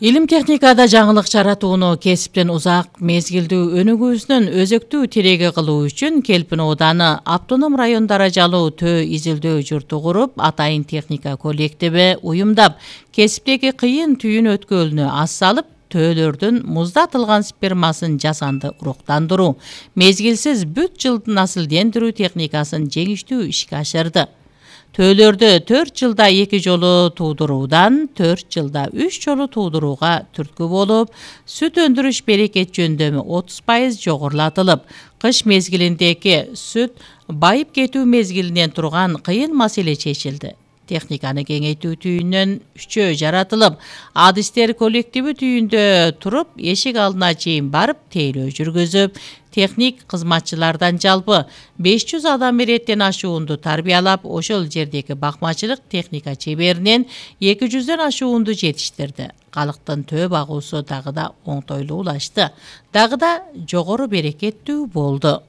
Илим техникада жаңылык жаратууну кесиптен узак мезгилдүү өнүгүүсүнүн өзөктүү тиреги кылуу үчүн Келпин ооданы автоном район даражалуу төө изилдөө журту куруп, Атайын техника коллективи уюмдап, кесиптеги кыйын түйүн өткөлүнө ас салып, төөлөрдүн муздатылган спермасын жасанды уруктандыруу, мезгилсиз бүт жылдын насылдендирүү техникасын жеңиштүү ишке ашырды. Төөлөрдү 4 жылда 2 жолу туудуруудан 4 жылда 3 жолу туудурууга түрткү болуп, сүт өндүрүш берекет жөндөмү 30% жогорулатылып, кыш мезгилиндеги сүт байып кетүү мезгилинен турган кыйын маселе чечилди. Техниканы кеңейтүү түйүнөн 3 жаратылып, адистер коллективи түйүндө туруп, эшик алдына чейин барып, тейлөө жүргүзүп, техник кызматчылардан жалпы 500 адам иреттен ашуунду тарбиялап, ошол жердеги бакмачылык техника чеберинен 200дөн ашуунду жетиштирди. Калктын төө багуусу дагы да оңтойлуулашты, дагы да жогору берекеттүү болду.